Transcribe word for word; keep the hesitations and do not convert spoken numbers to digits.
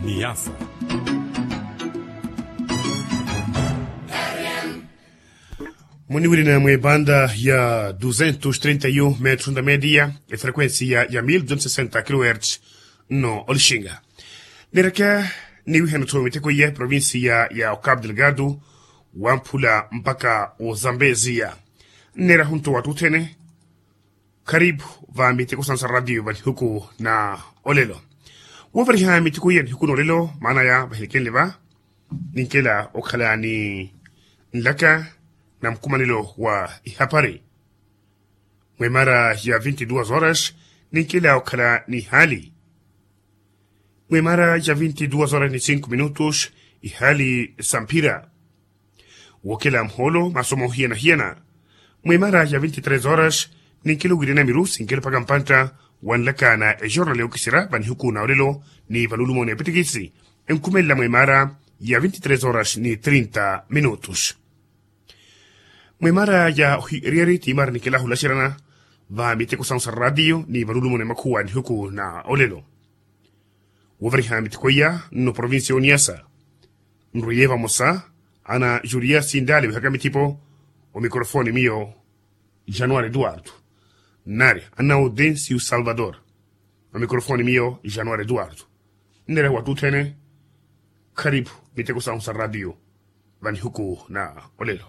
Niasa. Muniwirina mw'ebanda ya duzentos trinta e um metros da media, efrequencia ya mil duzentos sesenta kilohertz. Nno olixinga. Nireke niwihana-tho miteko iya eprovincia ya ocabo delgado, wamphula mpaka ozambeziya. Nneera hunto wattuthene. Kharipu va miteko sansa radio va nihuku na olelo. Woovariha miteko iya nihuku na olelo maana ya vahilekenle va, ninkela okhala ni nlaka na mukhumanelo wa ihapari. Mwemara ya vinti duas horas ninkela okhala ni ihali. Mwemara ya vinti duas horas ni cinco minutos ihali samphira. Wookela muhoolo masomo hiyana-hiyana. Mwemara ya vinti tres horas ninkela owirina miru sinkela mpaka mpantta wa nlaka na ejornal yookisira va nihuku na olelo ni va nulumo n'epittikisi. Enkhumelela mwemara ya vinti tres horas ni trinta minutos. Mwemara ya ohiryeri tiimari ninkela ohulaxeryana va miteko sansa radio ni va nulumo n'emakhuwa nihuku na olelo. Woovariha miteko iya nno provincia y'oniasa. Nrwiye vamosa ana juria sindale wihaka mithipo. Omikrofoni miyo januari eduardo. Nari ana audencio salvador. Omikrofoni miyo januari eduardo. Nneera wattuthene. Kharipu miteko sansa radio va nihuku na olelo.